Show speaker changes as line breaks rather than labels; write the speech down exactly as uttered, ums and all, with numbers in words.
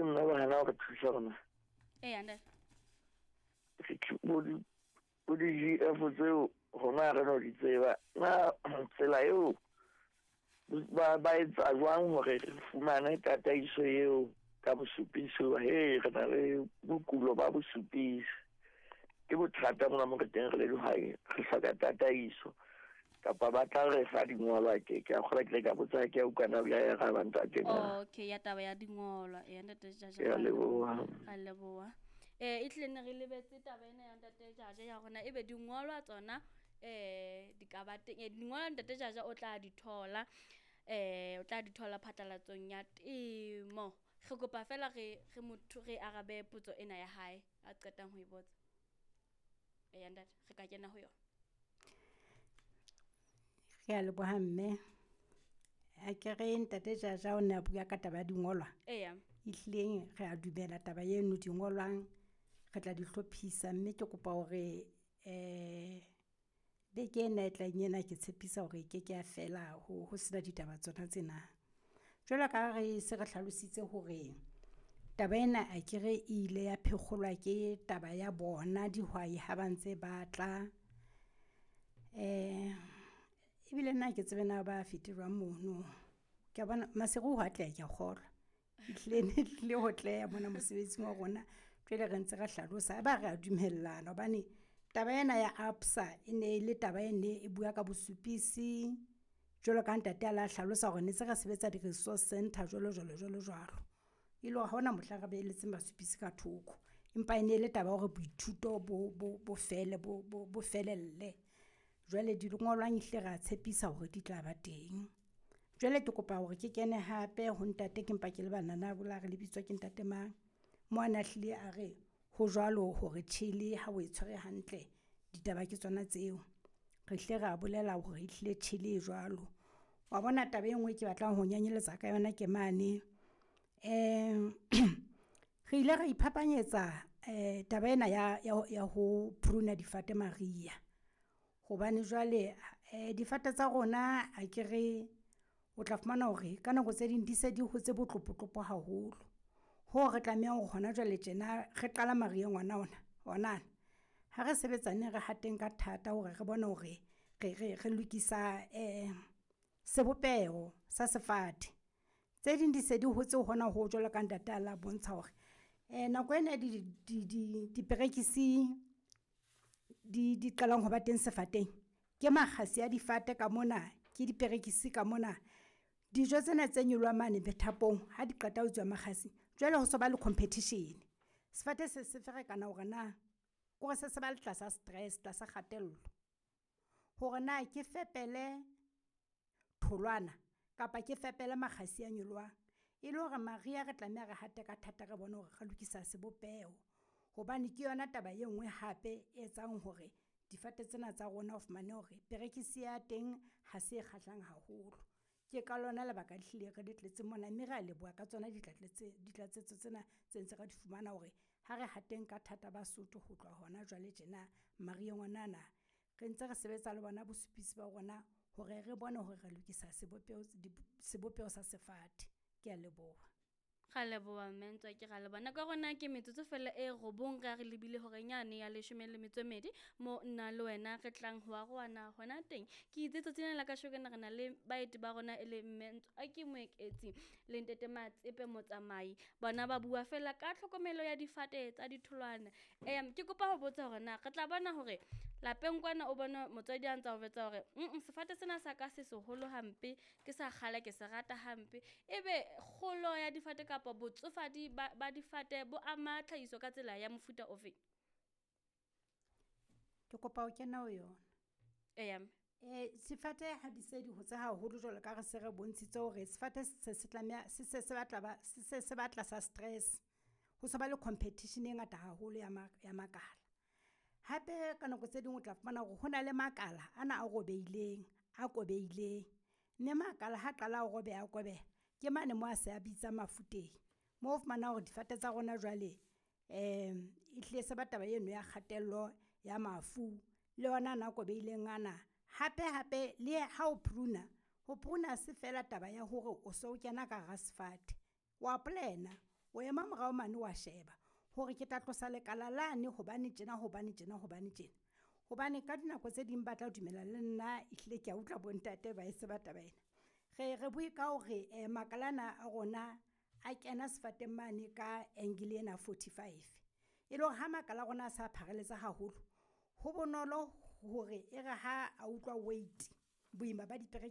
Nna ba hana hore thusa rona.
Eya ntate.
Bo di bo di G F tseo rona re no di tseba. Na tsela eo ba ba etsa jwang hore re fumane tataiso eo ka bosupisi? He re na le bokulo ba bosupisi. Ke bothata mona mo re teng re le dihwai, re hloka tataiso. Kapa ba tla re fa dingolwa ke ke a kgolwa ke ile ka botsa ke a utlwa na ya araba ntate na.
Okay, ya taba ya dingolwa. Eya ntate Jaja.
Ke a leboha.
Ra leboha. Eh e tlile ne re lebetse taba ena ya ntate Jaja ya rona ebe dingolwa tsona eh di ka ba teng. Eh, dingolwa ntate Jaja o tla di thola. Eh o tla di thola phatlalatsong ya temo. Re kopa fela re re motho re arabe potso ena ya hae a qetang ho e botsa. Eya ntate, re ka kena ho yona.
Re a leboha mme. A ke re ntate Jaja o ne a bua ka taba ya dingolwa.
Eya.
Ehlileng re a dumela taba eno dingolwang re tla di hlophisa mme ke kopa hore eh beke ena e tlang ena ke tshepisa hore e ke ke ya fela ho ho sena ditaba tsona tsena. Jwalo ka ha re se re hlalositse hore taba ena akere e ile ya phekgolwa ke taba ya bona dihwai ha ba ntse ba tla. Eh ebile nna ha ke tsebe na ba fete jwang mono. Ke a bona Maseru ho atleha ke a kgolwa. Ehlile ne tlile ho tleha mona mosebetsing wa rona. Jwale re ntse re hlalosa ba re a dumellana hobane taba ena ya A B S A e ne le taba e ne e bua ka bosupisi. Jwalo ka ntate a la hlalosa hore ne se re sebetsa di-resource center jwalo jwalo jwalo jwalo. E le hore ha hona mohla re behelletseng basupisi ka thoko. Empa e ne le taba ya hore boithuto bo, bo, bo fele, bo, bo, bo felelle. Jwale dingolwang ehlile ra tshepisa hore di tla ba teng. Jwale ke kopa hore ke kene hape ho ntate ke mpa ke lebala na bola re lebitswa ke ntate mang. Mo a na hlile a re ho jwalo hore tjhele ha o e tshwere hantle ditaba ke tsona tseo. Re hlile ra bolela hore ehlile tjhele e jwalo. Wa bona taba e nngwe ke batlang ho nyanyeletsa ka yona ke mane. Eh re ile ra iphapanyetsa eh taba ena ya, ya, ya ho prune-a difate mariha. Hobane jwale eh difate tsa rona akere o tla fumana hore ka nako tse ding di se di hotse botlopotlopo haholo. Hoo re tlamehang hore hona jwale tjena re qala mariheng ona ona, ona. Ha re sebetsaneng re hateng ka thata hore re bone hore re, re, re lokisa eh sebopeho sa sefate. Tse ding di se di hotse hona ho jwalo ka ntate a la bontsha hore eh nako ena di, di, di, diperekisi di, di qalang ho ba teng sefateng. Ke makgasi a difate ka mona, ke diperekisi ka mona. Dijo tsena tse nyolohang mane methapong ha di qeta ho tswa makgasi, jwale ho so ba le competition. Sefate se se ferekana hore na kore se se ba le tlasa stress, tlasa kgatello. Hore na ke fepele tholwana kapa ke fepele makgasi a nyolohang. E le hore mariha re tlameha re hate ka thata re bone hore re lokisa sebopeho. Hobane ke yona taba e nngwe hape e etsang hore difate tsena tsa rona o fumane hore perekisi ya teng ha se e kgahlang haholo. Ke ka lona lebaka ehlile re le tletse mona mme re a leboha ka tsona ditlatsetso tsena tse ntse re di fumana hore ha re hateng ka thata Basotho ho tloha hona jwale tjena mariheng ona na. Re ntse re sebetsa le bona bosupisi ba rona hore re bone hore re lokisa sebopeho, sebopeho sa sefate. Ke a leboha.
Ra leboha mme Ntswaki, ra leboha. Nako ya rona ke metsotso fela e robong re a re lebile horeng yane ya leshome le metso e mmedi mo nna le wena re tlang ho arohana hona teng. Ke itse tsatsing lena la kasheko re na le baeti ba rona e le mme Ntswaki Moeketsi le ntate Matsepe Motsamai. Bona ba bua fela ka tlhokomelo ya difate tsa ditholwana. Em ke kopa ho botsa hore na re tla bona hore lapeng kwana o bona motswadi a ntsa o jwetsa hore mm sefate sena sa ka se seholo hampe, ke sa kgale ke se rata hampe. Ebe kgolo ya difate kapa botsofadi ba, ba difate bo ama tlhahiso ka tsela ya mofuta ofe?
Ke kopa ho kena ho yona.
Eya mme.
Eh, sefate ha di se di hotse haholo jwalo ka re se re bontshitse hore sefate se se tlameha, se se se batla ba, se se se batla sa stress. Ho se ba le competition e ngata haholo ya ma-, ya makala. Hape ka nako tse ding o tla fumana hore ho na le makala ana a robehileng, a kobehileng. Mme makala ha qala a robeha, a kobeha, ke mane mo a se a bitsa mafu teng. Moo o fumana hore difate tsa rona jwale um ehlile se ba taba eno ya kgatello ya mafu le yona ana a kobehileng ana. Hape hape le ha o prune-a, ho prune-a ha se fela taba ya hore o so kena ka hara sefate. Wa plan-a, O ema morao mane wa sheba hore ke tla tlosa lekala lane hobane tjena, hobane tjena, hobane tjena. Hobane ka dinako tse ding ba tla dumela le nna ehlile kea utlwa bontate ba e tseba taba ena. Re re bue ka hore makala ana a rona a kena sefateng mane ka angle ena ya forty-five. E le hore ha makala a rona a sa pharaletse haholo, ho bonolo hore e re ha a utlwa weight, boima ba .